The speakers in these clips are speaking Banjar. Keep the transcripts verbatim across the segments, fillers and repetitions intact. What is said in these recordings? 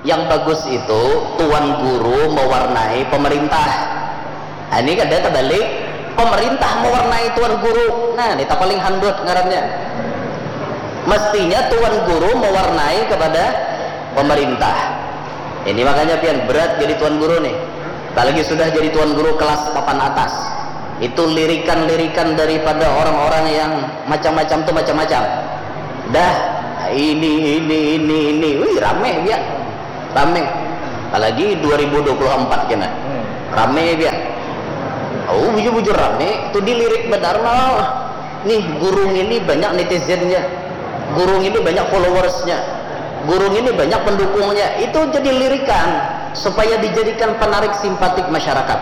Yang bagus itu tuan guru mewarnai pemerintah. Nah, ini kada terbalik, pemerintah mewarnai tuan guru. Nah, ini tak paling handut ngarannya. Mestinya tuan guru mewarnai kepada pemerintah. Ini makanya pian berat jadi tuan guru nih. Apalagi sudah jadi tuan guru kelas papan atas. Itu lirikan-lirikan daripada orang-orang yang macam-macam tuh macam-macam. Dah, ini, ini, ini, ini. Wih, rame dia. Rame. Apalagi dua ribu dua puluh empat kena. Rame dia. Oh, bujur-bujur rame. Itu dilirik benar lah. Nih, guru ini banyak netizennya. Guru ini banyak followersnya. Guru ini banyak pendukungnya. Itu jadi lirikan supaya dijadikan penarik simpatik masyarakat.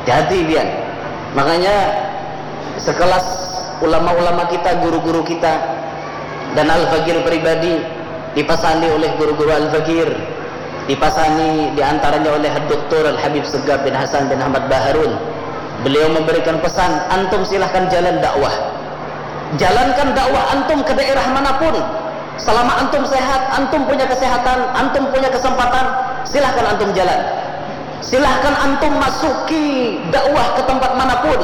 Jadi, Bian. Makanya sekelas ulama-ulama kita, guru-guru kita, dan Al-Fakir pribadi dipasani oleh guru-guru Al-Fakir, dipasani diantaranya oleh Doktor Al-Habib Segaf bin Hasan bin Ahmad Baharun. Beliau memberikan pesan, antum silahkan jalan dakwah. Jalankan dakwah antum ke daerah manapun. Selama antum sehat, antum punya kesehatan, antum punya kesempatan, silahkan antum jalan. Silahkan antum masuki dakwah ke tempat manapun.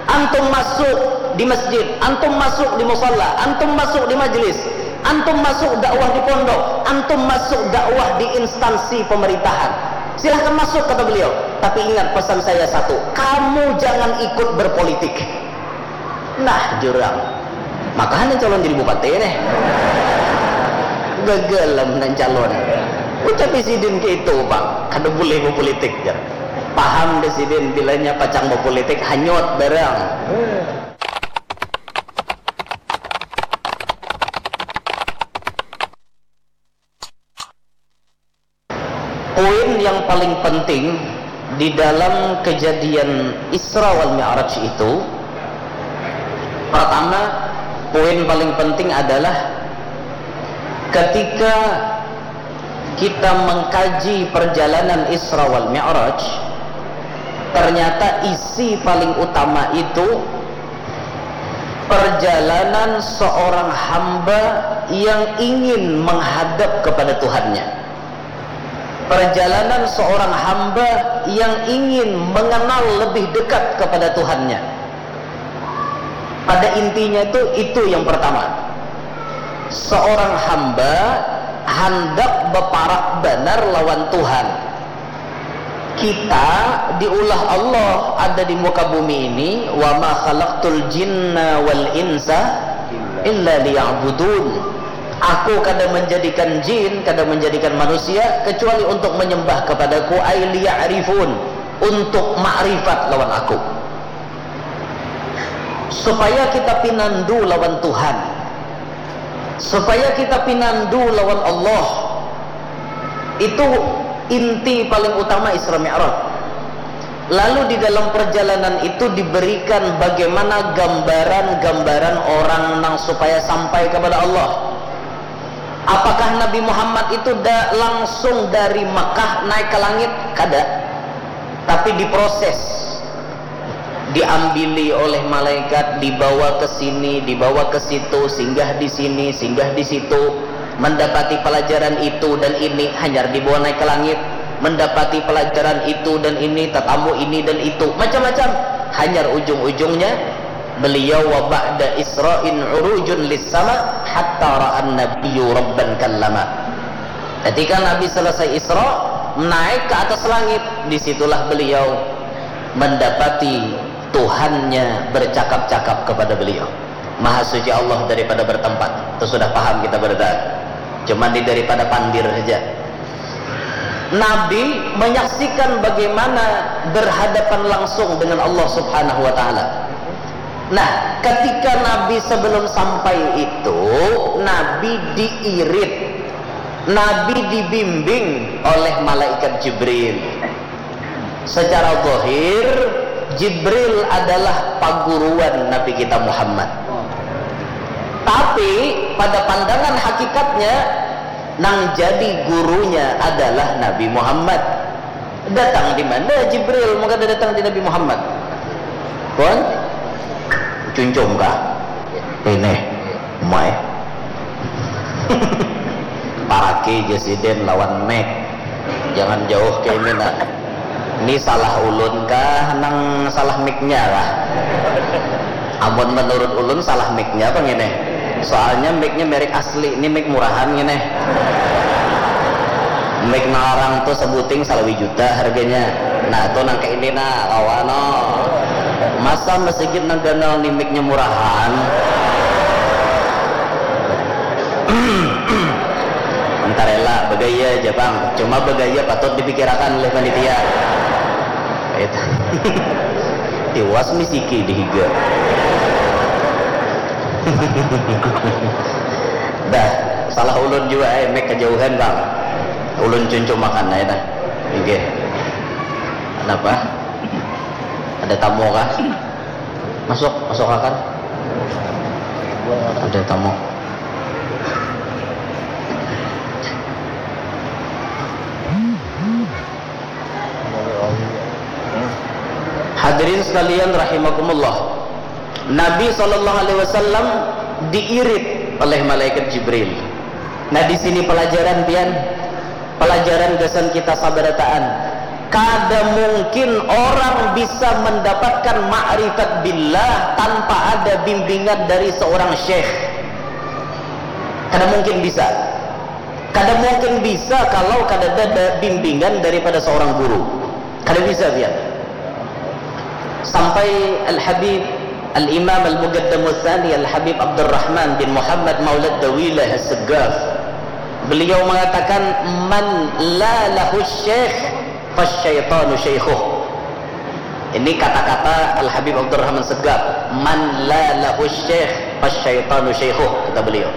Antum masuk di masjid, antum masuk di musala, antum masuk di majlis, antum masuk dakwah di pondok, antum masuk dakwah di instansi pemerintahan. Silahkan masuk, kata beliau. Tapi ingat pesan saya satu, kamu jangan ikut berpolitik. Nah, jurang. Makahan yang calon jadi bupati nih. Gagal lah menang calon. Ucap sidin ke itu, Pak. Kada boleh berpolitik, jar. Paham deh sidin, bilanya pacang berpolitik, hanyut barang. Poin yang paling penting di dalam kejadian Isra wal Mi'raj itu, pertama, poin paling penting adalah ketika kita mengkaji perjalanan Isra wal Mi'raj, ternyata isi paling utama itu perjalanan seorang hamba yang ingin menghadap kepada Tuhannya. Perjalanan seorang hamba yang ingin mengenal lebih dekat kepada Tuhannya. Pada intinya itu, itu yang pertama. Seorang hamba handak beparak banar lawan Tuhan. Kita diulah Allah ada di muka bumi ini, wa ma khalaqtul jinna wal insa illa liya'budun. Aku kada menjadikan jin, kada menjadikan manusia kecuali untuk menyembah kepadaku, ay liya'rifun, untuk makrifat lawan aku. Supaya kita pinandu lawan Tuhan, supaya kita pinandu lawan Allah. Itu inti paling utama Isra Mi'raj. Lalu di dalam perjalanan itu diberikan bagaimana gambaran-gambaran orang nang supaya sampai kepada Allah. Apakah Nabi Muhammad itu da langsung dari Mekah naik ke langit? Kada. Tapi diproses. Diambili oleh malaikat, dibawa ke sini, dibawa ke situ, singgah di sini, singgah di situ, mendapati pelajaran itu dan ini, hanyar dibawa naik ke langit, mendapati pelajaran itu dan ini, tetamu ini dan itu, macam-macam, hanyar ujung-ujungnya beliau wa ba'da isra'in urujun lis sama hatta ra'an nabiyyu rabban kallama. Ketika Nabi selesai Isra, naik ke atas langit, disitulah beliau mendapati Tuhannya bercakap-cakap kepada beliau. Maha suci Allah daripada bertempat. Itu sudah paham kita berada. Cuma di daripada pandir saja. Nabi menyaksikan bagaimana berhadapan langsung dengan Allah Subhanahu wa Ta'ala. Nah, ketika Nabi sebelum sampai itu, Nabi diirit, Nabi dibimbing oleh malaikat Jibril. Secara zahir, Jibril adalah paguruan Nabi kita Muhammad. Tapi pada pandangan hakikatnya, nang jadi gurunya adalah Nabi Muhammad. Datang di mana Jibril? Maka datang di Nabi Muhammad. Pun cuncum kah? Ini, mai. Parak Oke, Jesiden lawan Mac. Jangan jauh ke ini nah. Ini salah ulun kah nang salah mic-nya kah? Amun menurut ulun salah mic-nya apa ngene? Soalnya mic-nya merek asli, ini mic murahan ngene. Mic nang larang tuh sebuting salawi juta harganya. Nah, tuh nang kayak ini nah, kawan no. Masa masigit nang ganal ni mic-nya murahan? Entar ela, begaya aja bang. Cuma begaya patut dipikirakan oleh panitia. Itu. Tiwas misiki di higa. Dah, salah ulun juga eh, mek kejauhan bang. Ulun cuncum makan aja dah. Oke. Kenapa? Ada tamu kah? Masuk, masuk akan. Ada tamu. Hadirin sekalian rahimakumullah. Nabi sallallahu alaihi wasallam diirit oleh malaikat Jibril. Nah, di sini pelajaran pian, pelajaran gasan kita sabarataan. Kada mungkin orang bisa mendapatkan ma'rifat billah tanpa ada bimbingan dari seorang syekh. Kada mungkin bisa. Kada mungkin bisa kalau kada ada bimbingan daripada seorang guru. Kada bisa pian. Sampai Al-Habib Al-Imam Al-Muqaddamu Tsani Al-Habib Abdurrahman bin Muhammad Maulad Dawilah As-Segaf, beliau mengatakan, "Man la lahu syekh, fasyaitanu syaikhuh." Ini kata-kata Al-Habib Abdurrahman Segaf, "Man la lahu syekh, fasyaitanu syaikhuh," kata beliau.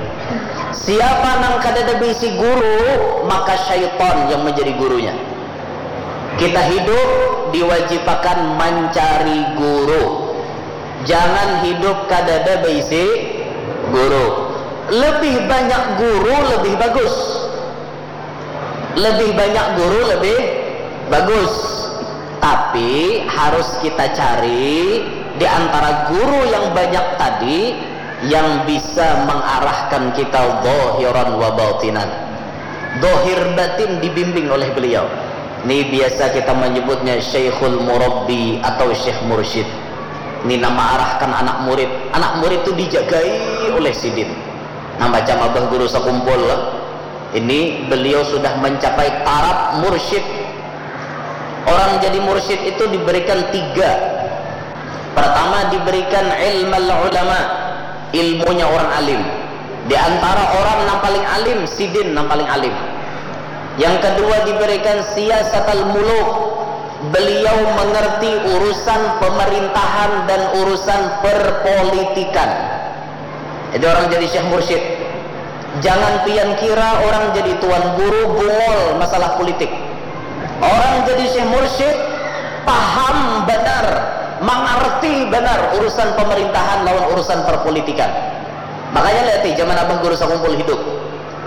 Siapa nang kadada baisi guru, maka syaitan yang menjadi gurunya. Kita hidup diwajibakan mencari guru. Jangan hidup kadada baisi guru. Lebih banyak guru, lebih bagus. Lebih banyak guru, lebih bagus. Tapi harus kita cari di antara guru yang banyak tadi yang bisa mengarahkan kita zahiran wa batinan. Zahir batin dibimbing oleh beliau. Ini biasa kita menyebutnya Syekhul Murabbi atau Syekh Mursyid. Ini nama arahkan anak murid. Anak murid itu dijagai oleh sidin. Nah, macam Abah Guru Sakumpul, ini beliau sudah mencapai taraf mursyid. Orang jadi mursyid itu diberikan tiga. Pertama, diberikan ilmal ulama, ilmunya orang alim. Di antara orang nang paling alim, sidin nang paling alim. Yang kedua, diberikan siyasatal muluk. Beliau mengerti urusan pemerintahan dan urusan perpolitikan. Jadi orang jadi syekh mursyid. Jangan pian kira orang jadi tuan guru bungol masalah politik. Orang jadi syekh mursyid paham banar, mangarti banar urusan pemerintahan lawan urusan perpolitikan. Makanya lihat zaman Abah Guru Sakumpul hidup.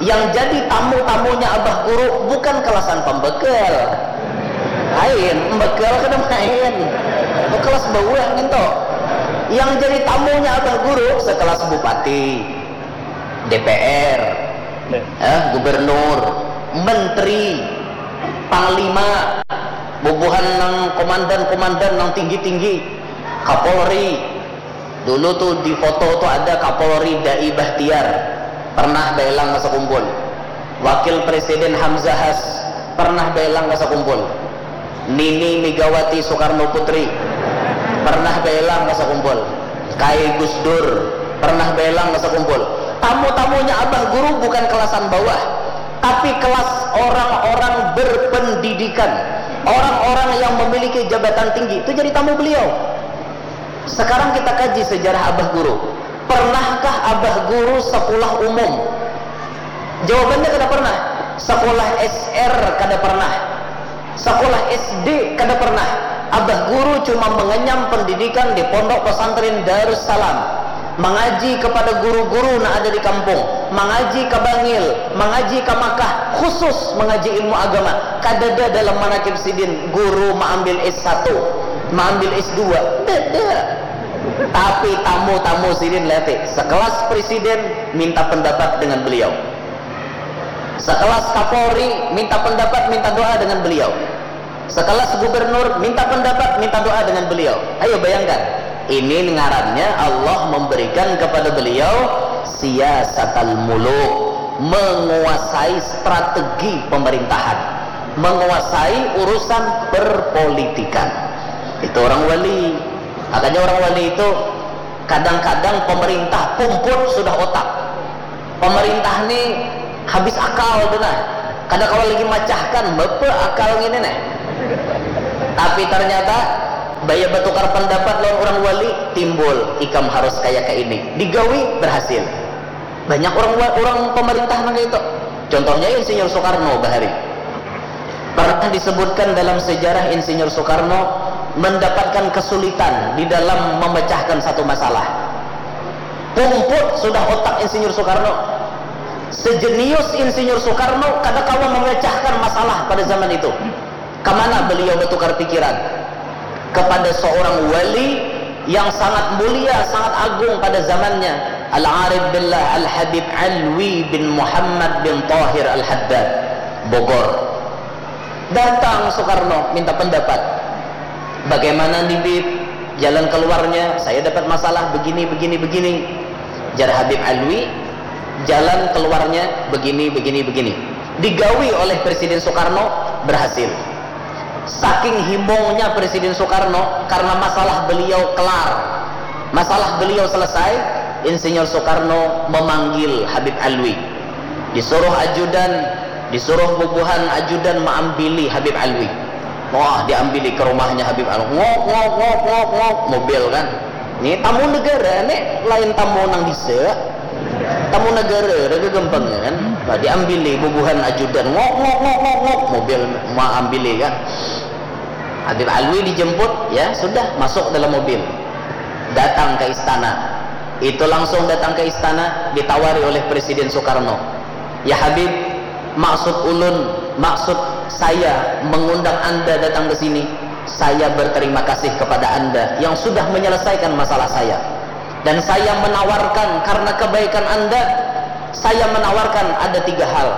Yang jadi tamu-tamunya Abah Guru bukan kelasan pembekel. Lain, pembekel kada main. Itu kelas bawah nginto. Yang jadi tamunya Abah Guru sekelas bupati, D P R, eh, gubernur, menteri, panglima, bubuhan nang komandan-komandan nang tinggi-tinggi, Kapolri. Dulu tuh di foto tuh ada Kapolri Dai Bahtiar, pernah baelang ka Sakumpul. Wakil Presiden Hamzahas, pernah baelang ka Sakumpul. Nini Megawati Soekarno Putri, pernah baelang ka Sakumpul. Kai Gus Dur, pernah baelang ka Sakumpul. Tamu-tamunya Abah Guru bukan kelasan bawah, tapi kelas orang-orang berpendidikan, orang-orang yang memiliki jabatan tinggi itu jadi tamu beliau. Sekarang kita kaji sejarah Abah Guru. Pernahkah Abah Guru sekolah umum? Jawabannya kada pernah. Sekolah S R kada pernah. Sekolah S D kada pernah. Abah Guru cuma mengenyam pendidikan di Pondok Pesantren Darussalam. Mengaji kepada guru-guru nang ada di kampung. Mengaji ke Bangil, mengaji ke Makkah, khusus mengaji ilmu agama. Kadada dalam manakib sidin guru maambil S satu, maambil S dua. Dada. Tapi tamu-tamu sidin lete, sekelas presiden minta pendapat dengan beliau. Sekelas Kapolri minta pendapat, minta doa dengan beliau. Sekelas gubernur minta pendapat, minta doa dengan beliau. Ayo bayangkan, ini ngarannya Allah memberikan kepada beliau siyasatal muluk, menguasai strategi pemerintahan, menguasai urusan perpolitikan. Itu orang wali. Makanya orang wali itu kadang-kadang pemerintah pumput sudah otak. Pemerintah ni habis akal tu nah. Kada kawa lagi macahkan, bapa akal ngini nah. Tapi ternyata baya batukar pendapat lawan urang wali, timbul, ikam harus kaya kaini. Digawi, berhasil. Banyak urang wa-, urang pemerintah nang kaya itu. Contohnya Insinyur Soekarno bahari. Pernah disebutkan dalam sejarah Insinyur Soekarno mendapatkan kesulitan di dalam memecahkan satu masalah. Pumput sudah otak Insinyur Soekarno. Sejenius Insinyur Soekarno kada kawa memecahkan masalah pada zaman itu. Kemana beliau bertukar pikiran? Kepada seorang wali yang sangat mulia, sangat agung pada zamannya, Al-Arif Billah Al-Habib Alwi bin Muhammad bin Tahir Al-Haddad, Bogor. Datang Soekarno minta pendapat. Bagaimana nih, Bib? Jalan keluarnya, saya dapat masalah begini, begini, begini. Jar Habib Alwi, jalan keluarnya begini, begini, begini. Digawi oleh Presiden Soekarno, berhasil. Saking himungnya Presiden Soekarno karena masalah beliau kelar, masalah beliau selesai, Insinyur Soekarno memanggil Habib Alwi. Disuruh ajudan, disuruh bubuhan ajudan maambili Habib Alwi. Wah, diambili ke rumahnya Habib Alwi. Ngok, ngok, ngok, ngok, ngok, mobil kan. Ni tamu negara, nek lain tamu nang bisa. Tamu negara, raga gampang kan. Nah, diambili bubuhan ajudan. Ngok, ngok, ngok, ngok, ngok, mobil maambili kan. Habib Alwi dijemput, ya sudah, masuk dalam mobil. Datang ke istana. Itu langsung datang ke istana, ditawari oleh Presiden Soekarno. Ya Habib, maksud ulun, maksud saya mengundang Anda datang ke sini, saya berterima kasih kepada Anda yang sudah menyelesaikan masalah saya. Dan saya menawarkan, karena kebaikan Anda, saya menawarkan ada tiga hal.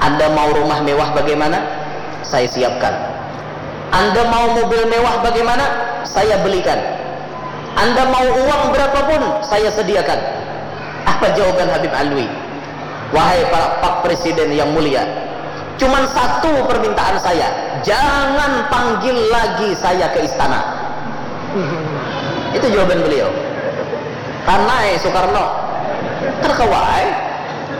Anda mau rumah mewah bagaimana? Saya siapkan. Anda mau mobil mewah bagaimana? Saya belikan. Anda mau uang berapapun, saya sediakan. Apa jawaban Habib Alwi? Wahai Pak, Pak Presiden yang mulia, cuman satu permintaan saya, jangan panggil lagi saya ke istana. Itu jawaban beliau. Kanai Soekarno. Terkawai.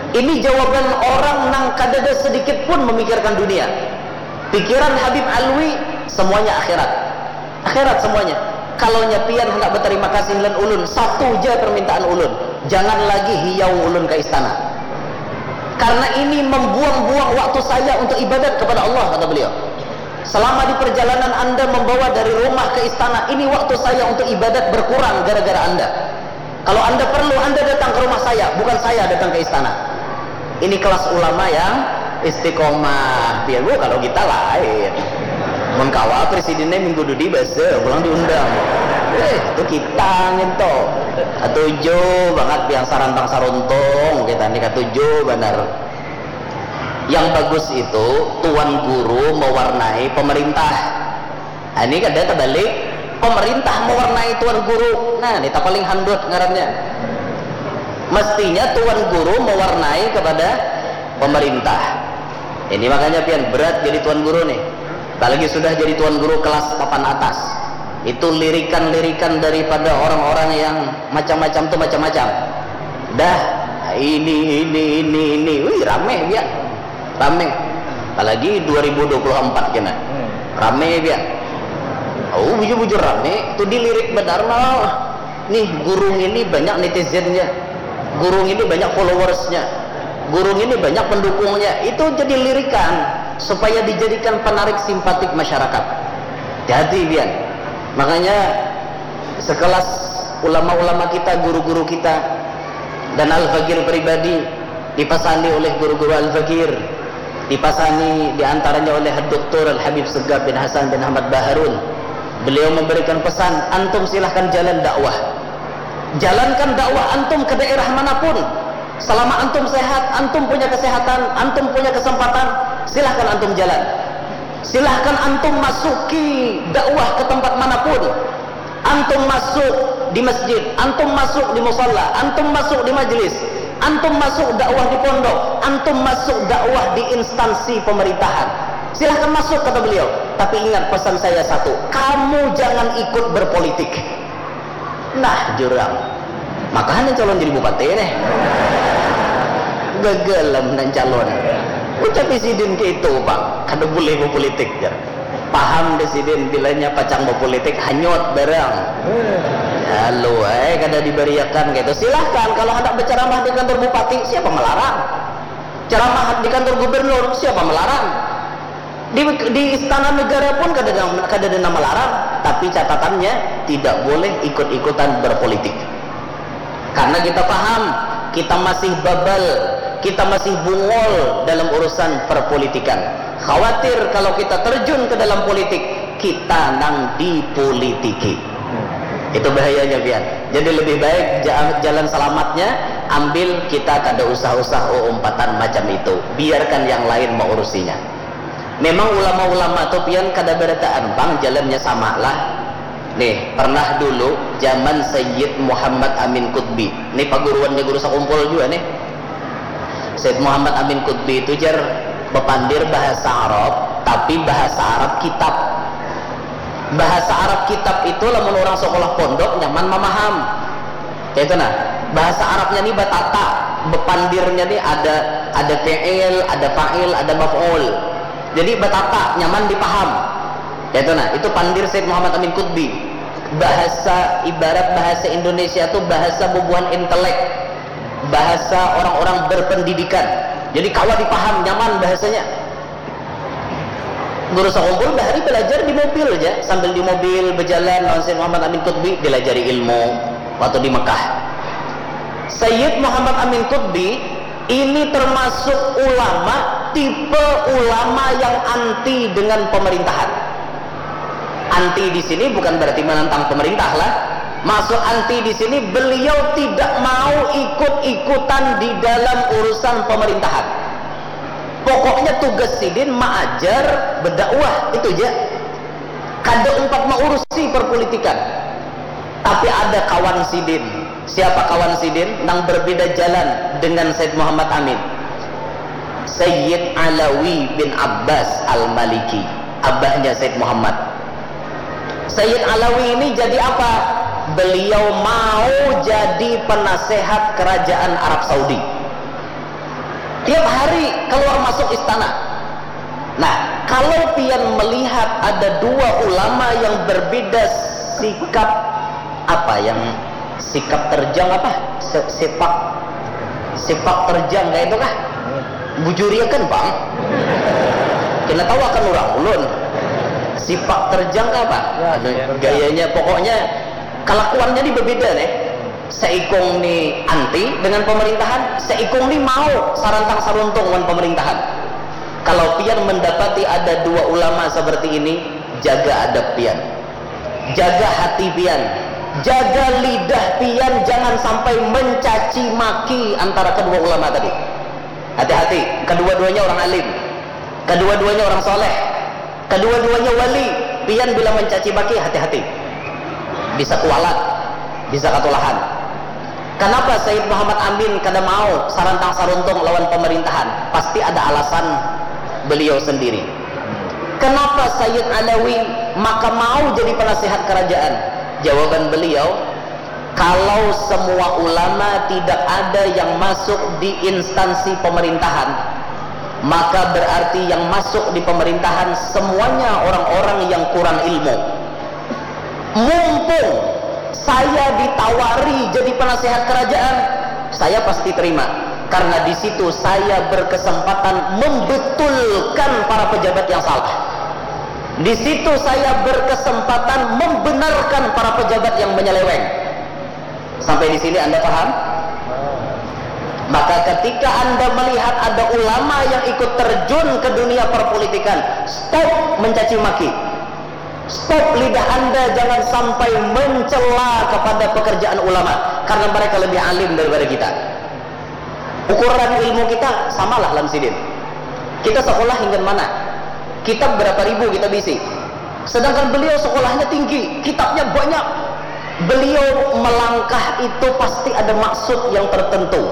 Ini jawaban orang nang kadada sedikit pun memikirkan dunia. Pikiran Habib Alwi semuanya akhirat. Akhirat semuanya. Kalau nya pian hendak berterima kasih lan ulun, satu ja permintaan ulun, jangan lagi hiau ulun ke istana. Karena ini membuang-buang waktu saya untuk ibadat kepada Allah, kata beliau. Selama di perjalanan Anda membawa dari rumah ke istana, ini waktu saya untuk ibadat berkurang gara-gara Anda. Kalau Anda perlu, Anda datang ke rumah saya, bukan saya datang ke istana. Ini kelas ulama yang istiqomah. Biar bu, kalau kita lain. Mun kawa presidennya minggu dudi basa, pulang diundang. Eh, itu kita nginto. Katuju banget yang sarantang saruntung, kita ni katuju banar. Yang bagus itu tuan guru mewarnai pemerintah. Nah, ini kada terbalik, pemerintah mewarnai tuan guru. Nah, ini tak paling handut ngarannya. Mestinya tuan guru mewarnai kepada pemerintah. Ini makanya pian berat jadi tuan guru nih. Apalagi sudah jadi tuan guru kelas papan atas. Itu lirikan-lirikan daripada orang-orang yang macam-macam tuh macam-macam. Dah, ini, ini, ini, ini. Wih, rame dia. Rame. Apalagi dua ribu dua puluh empat kena. Rame dia. Oh, bujur-bujur rame. Itu dilirik benar nah. Nih, guru ini banyak netizennya. Guru ini banyak followersnya. Guru ini banyak pendukungnya. Itu jadi lirikan supaya dijadikan penarik simpatik masyarakat. Hati-hati pian. Makanya sekelas ulama-ulama kita, guru-guru kita, dan Al-Fakir pribadi dipasani oleh guru-guru Al-Fakir, dipasani diantaranya oleh Doktor Al-Habib Segaf bin Hasan bin Ahmad Baharun. Beliau memberikan pesan, antum silahkan jalan dakwah. Jalankan dakwah antum ke daerah manapun. Selama antum sehat, antum punya kesehatan, antum punya kesempatan, silahkan antum jalan. Silahkan antum masuki dakwah ke tempat manapun. Antum masuk di masjid, antum masuk di musala, antum masuk di majlis, antum masuk dakwah di pondok, antum masuk dakwah di instansi pemerintahan. Silahkan masuk, kata beliau. Tapi ingat pesan saya satu, kamu jangan ikut berpolitik. Nah, jurang. Makahan calon jadi bupati nih. Gagal lah menang calon. Ucap sidin ke itu, Pak. Kada boleh berpolitik, jar. Paham deh sidin, bilanya pacang berpolitik, hanyut barang. Lalu, eh, kada dibariakan gitu. Silahkan, kalau hendak berceramah di kantor bupati, siapa melarang? Ceramah di kantor gubernur, siapa melarang? Di, di istana negara pun kada ada, kada ada nama larang, tapi catatannya tidak boleh ikut-ikutan berpolitik. Karena kita paham, kita masih babal, kita masih bungol dalam urusan perpolitikan. Khawatir kalau kita terjun ke dalam politik, kita nang dipolitiki. Itu bahayanya, pian. Jadi lebih baik ja-, jalan selamatnya, ambil, kita kada usah-usah umpatan macam itu. Biarkan yang lain mengurusinya. Memang ulama-ulama tu pian kada barataan pang jalannya sama lah. Nih, pernah dulu zaman Sayyid Muhammad Amin Qutbi. Nih paguruannya Guru Sakumpul juga nih. Sayyid Muhammad Amin Qutbi itu jar bapandir bahasa Arab, tapi bahasa Arab kitab. Bahasa Arab kitab itu lamun orang sekolah pondok nyaman mamaham. Kayak itu nah. Bahasa Arabnya nih batata, bapandirnya nih ada ada fi'il, ada fa'il, ada maf'ul. Jadi batata, nyaman dipaham. Itu nah, itu pandir Sayyid Muhammad Amin Qutbi. Bahasa, ibarat bahasa Indonesia tuh bahasa bubuhan intelek, bahasa orang-orang berpendidikan. Jadi kawa dipaham, nyaman bahasanya. Guru Sakumpul bahari belajar di mobil aja, sambil di mobil berjalan lawan Sayyid Muhammad Amin Qutbi, dilajari ilmu waktu di Mekah. Sayyid Muhammad Amin Qutbi ini termasuk ulama, tipe ulama yang anti dengan pemerintahan. Anti di sini bukan berarti menentang pemerintah lah. Maksud anti di sini, beliau tidak mau ikut-ikutan di dalam urusan pemerintahan. Pokoknya tugas sidin maajar, berdakwah, itu aja. Kada umpat mengurusi perpolitikan. Tapi ada kawan sidin. Siapa kawan sidin? Nang berbeda jalan dengan Sayyid Muhammad Amin. Sayyid Alawi bin Abbas Al-Maliki, abahnya Sayyid Muhammad. Sayyid Alawi ini jadi apa? Beliau mau jadi penasehat kerajaan Arab Saudi. Tiap hari keluar masuk istana. Nah, kalau pian melihat ada dua ulama yang berbeda sikap, apa yang sikap terjang apa? Se-, sepak, sepak terjang kayak itu kah? Bujuriakan, Bang. Kena tahu akan orang ulun. Sepak terjang apa? Ya, anu, sepak terjang. Gayanya pokoknya kelakuannya ini berbeda nih. Seikung ni anti dengan pemerintahan, seikung ni mau sarantang saruntung dengan pemerintahan. Kalau pian mendapati ada dua ulama seperti ini, jaga adab pian. Jaga hati pian. Jaga lidah pian, jangan sampai mencaci maki antara kedua ulama tadi. Hati-hati, kedua-duanya orang alim. Kedua-duanya orang soleh. Kedua-duanya wali. Pian bila mencaci maki, hati-hati. Bisa kualat, bisa katulahan. Kenapa Sayyid Muhammad Amin kada mau sarantang saruntung lawan pemerintahan? Pasti ada alasan beliau sendiri. Kenapa Sayyid Alawi maka mau jadi penasihat kerajaan? Jawaban beliau, kalau semua ulama tidak ada yang masuk di instansi pemerintahan, maka berarti yang masuk di pemerintahan semuanya orang-orang yang kurang ilmu. Mumpung saya ditawari jadi penasehat kerajaan, saya pasti terima. Karena di situ saya berkesempatan membetulkan para pejabat yang salah. Di situ saya berkesempatan membenarkan para pejabat yang menyeleweng. Sampai di sini Anda paham? Maka ketika Anda melihat ada ulama yang ikut terjun ke dunia perpolitikan, stop mencaci maki. Stop lidah Anda, jangan sampai mencela kepada pekerjaan ulama, karena mereka lebih alim daripada kita. Ukuran ilmu kita samalah lawan sidin. Kita sekolah hingga mana? Kitab berapa ribu kita bisi? Sedangkan beliau sekolahnya tinggi, kitabnya banyak. Beliau melangkah itu pasti ada maksud yang tertentu.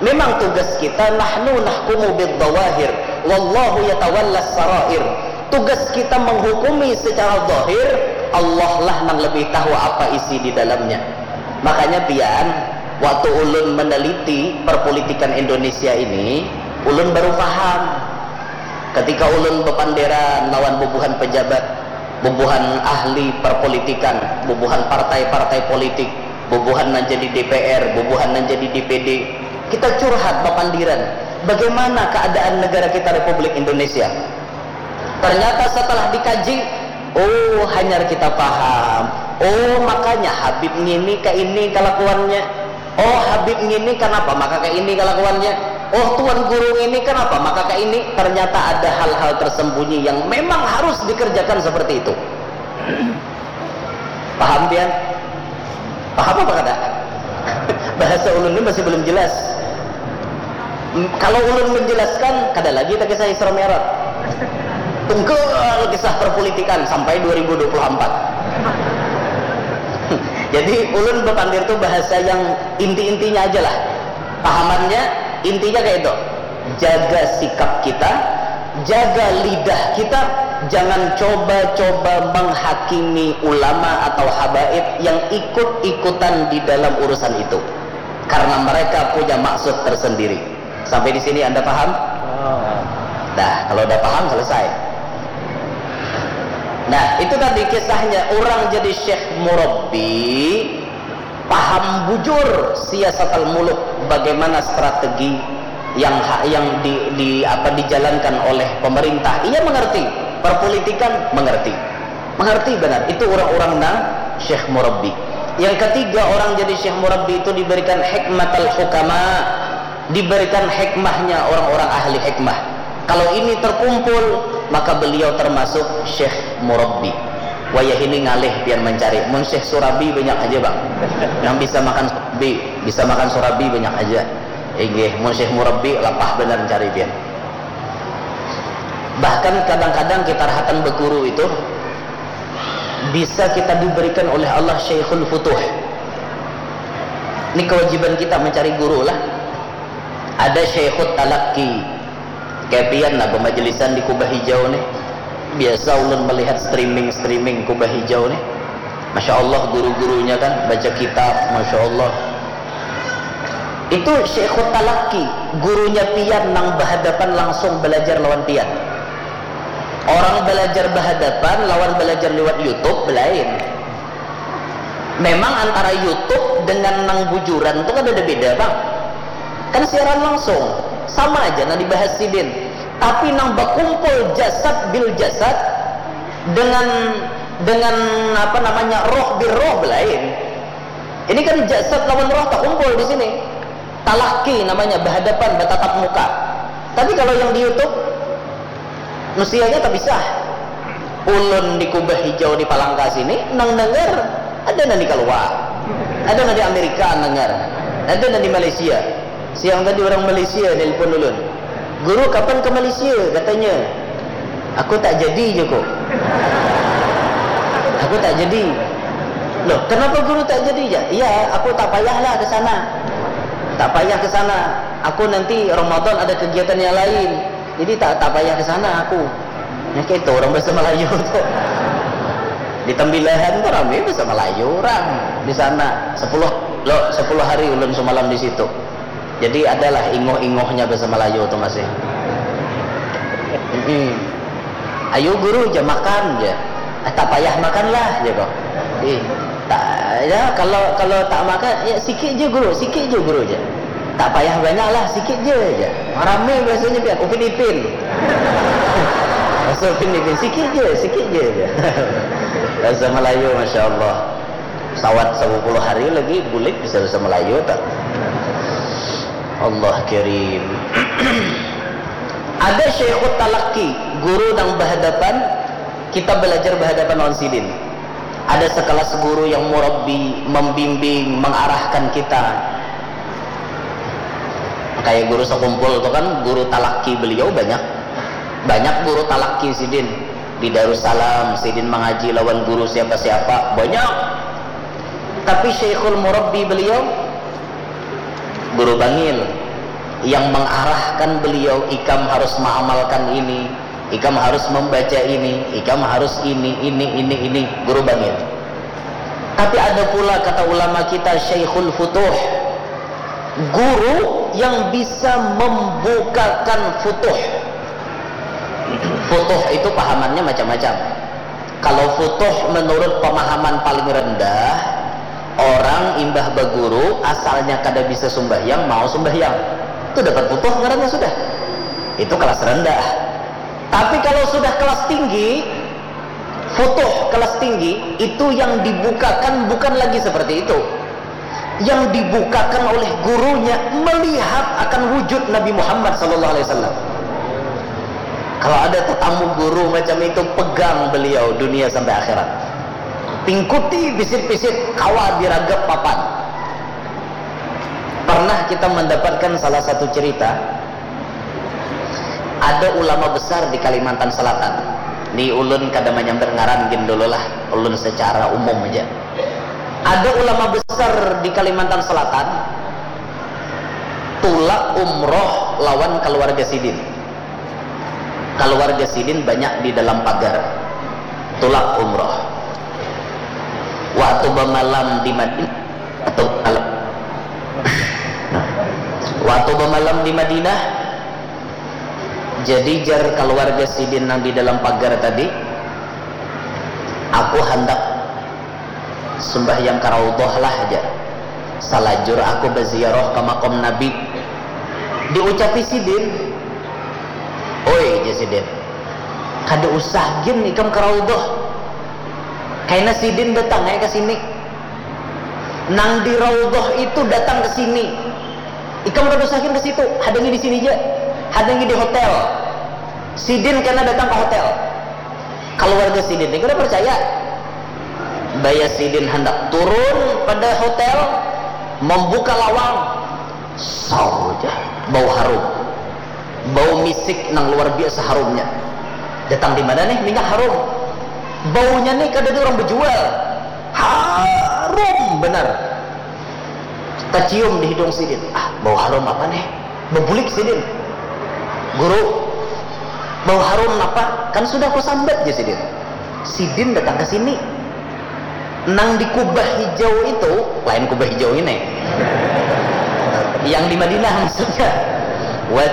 Memang tugas kita, nahnu nahkumu bid dawahir, wallahu yatawallas sarair. Tugas kita menghukumi secara zahir, Allah lah nang lebih tahu apa isi di dalamnya. Makanya pian, waktu ulun meneliti perpolitikan Indonesia ini, ulun baru paham. Ketika ulun bepanderan lawan bubuhan pejabat, bubuhan ahli perpolitikan, bubuhan partai-partai politik, bubuhan nang jadi D P R, bubuhan nang jadi D P D, kita curhat bapandiran, bagaimana keadaan negara kita Republik Indonesia. Ternyata setelah dikaji, oh, hanyar kita paham. Oh, makanya Habib ngini ka ini kalakuannya. Oh, Habib ngini kanapa maka ka ini kalakuannya. Oh, tuan guru ngini kanapa maka ka ini. Ternyata ada hal-hal tersembunyi yang memang harus dikerjakan seperti itu. Paham pian? Paham apa kada? Bahasa ulun ni masih belum jelas. M-, kalau ulun menjelaskan, kada lagi tak kisah Isra Mi'raj. Tunggal kisah perpolitikan sampai dua ribu dua puluh empat. Jadi ulun bepandir tu bahasa yang inti-intinya aja lah. Pahamannya, intinya kayak itu. Jaga sikap kita, jaga lidah kita, jangan coba-coba menghakimi ulama atau habaib yang ikut-ikutan di dalam urusan itu. Karena mereka punya maksud tersendiri. Sampai di sini Anda paham? Nah, kalau udah paham, selesai. Nah, itu tadi kisahnya orang jadi syekh murabbi, paham bujur siasat al-muluk, bagaimana strategi yang ha-, yang di, di apa, dijalankan oleh pemerintah. Ia mengerti, perpolitikan mengerti. Mengerti benar, itu orang-orang nang syekh murabbi. Yang ketiga, orang jadi syekh murabbi itu diberikan hikmat al-hukama, diberikan hikmahnya orang-orang ahli hikmah. Kalau ini terkumpul, maka beliau termasuk syekh murabbi. Wayah ini ngalih pian mencari. Mun syekh surabi banyak aja, Bang. Yang bisa makan surabi, bisa makan surabi banyak aja. Inggih, mun syekh murabbi lapah benar mencari pian. Bahkan kadang-kadang kita rahatan beguru itu bisa kita diberikan oleh Allah Syaikhul Futuh. Ini kewajiban kita mencari guru lah. Ada Syaikhut Talaki. Kayak pian lah, pemajelisan di Kubah Hijau nih. Biasa ulun melihat streaming-streaming Kubah Hijau nih. Masya Allah, guru-gurunya kan baca kitab, Masya Allah. Itu Syaikhut Talaki, gurunya pian nang berhadapan langsung belajar lawan pian. Orang belajar berhadapan lawan belajar lewat YouTube belain. Memang antara YouTube dengan nang bujuran tu kada ada beda, Bang. Kan siaran langsung, sama aja nang dibahas sidin. Tapi nang bakumpul jasad bil jasad dengan, dengan apa namanya, roh bil roh belain. Ini kan jasad lawan roh takumpul di sini. Talaki namanya, berhadapan, bertatap muka. Tapi kalau yang di YouTube, nusianya terpisah. Ulun di Kubah Hijau di Palangka sini, nang dengar ada nang di Kalua, ada nang di Amerika dengar, ada nang di Malaysia. Siang tadi orang Malaysia nelpon ulun, "Guru, kapan ke Malaysia?" katanya. "Aku tak jadi," jaku. "Aku tak jadi." "Loh, kenapa guru tak jadi?" Ja. "Iya, aku tak payahlah ke sana. Tak payah ke sana. Aku nanti Ramadan ada kegiatan yang lain. Jadi tak, tak payah ke sana aku." Ya, kayak itu orang bahasa Melayu tuh. Di Tembilahan tuh rame bahasa Melayu orang di sana. Sepuluh, lo, sepuluh hari ulun semalam di situ. Jadi adalah ingoh-ingohnya bahasa Melayu tuh masih. Mm-mm. "Ayo guru, ja makan," ja. "Ah, tak payah makan lah," ja kok. Ih, tak, ya, kalau, kalau tak makan, ya, sikit je guru, sikit je guru, ja. "Tak payah banyak lah, sikit je," ja. Rame bahasanya pian, Upin Ipin. Bahasa Upin Ipin, "Sikit je, sikit je," ja. Bahasa Melayu, Masya Allah. Sawat sepuluh hari lagi bulik bisa bahasa Melayu tak? Allah Karim. Ada Syaikhut Talaki, guru nang berhadapan, kita belajar berhadapan lawan sidin. Ada sekelas guru yang murabbi, membimbing, mengarahkan kita. Kayak guru sekumpul tu kan, guru talaki beliau banyak. Banyak guru talaki sidin. Di Darussalam, sidin mangaji lawan guru siapa-siapa. Banyak. Tapi Syekhul Murabbi beliau, guru bangil. Yang mengarahkan beliau, ikam harus mengamalkan ini, ikam harus membaca ini, ikam harus ini, ini, ini, ini. Guru bangil. Tapi ada pula kata ulama kita, Syekhul Futuh. Guru yang bisa membukakan futuh. Futuh itu pahamannya macam-macam. Kalau futuh menurut pemahaman paling rendah, orang imbah baguru asalnya kada bisa sumbahyang, mau sumbahyang. Itu dapat futuh ngarannya sudah. Itu kelas rendah. Tapi kalau sudah kelas tinggi, futuh kelas tinggi, itu yang dibukakan bukan lagi seperti itu. Yang dibukakan oleh gurunya melihat akan wujud Nabi Muhammad sallallahu alaihi wasallam. Kalau ada tetamu guru macam itu, pegang beliau dunia sampai akhirat. Tingkuti pisit-pisit, kawa diragap papan. Pernah kita mendapatkan salah satu cerita, ada ulama besar di Kalimantan Selatan. Ni ulun kada manyambat ngaran gin dulu lah, ulun secara umum aja. Ada ulama besar di Kalimantan Selatan, tulak umroh lawan keluarga sidin. Keluarga sidin banyak di dalam pagar. Tulak umroh. Waktu bamalam di Madinah, waktu bamalam, waktu bamalam di Madinah, jadi jar keluarga sidin nang di dalam pagar tadi, aku handak sumbahyang ka Raudhah lah, jar. Salajur aku baziarah ka makam Nabi. Diucapi sidin, "Oi," jar sidin, "kada usah gin ikam ka Raudhah. Kaina sidin datang ai ka sini. Nang di Raudhah itu datang ke sini. Ikam kada usah gin ke situ, hadangi di sini ja. Hadangi di hotel. Sidin kena datang ke hotel." Keluarga sidin ni kada percaya. Baya sidin handak turun pada hotel, membuka lawang, saw ja, bau harum. Bau misik nang luar biasa harumnya. Datang di mana nih minyak harum? Baunya nih kada ada orang bejual. Harum benar. Tacium di hidung sidin. Ah, bau harum apa nih? Bebulik sidin. "Guru, bau harum apa?" "Kan sudah kusambat," jar sidin. Sidin datang ke sini. Nang di kubah hijau itu, lain kubah hijau ini. Yang di Madinah maksudnya.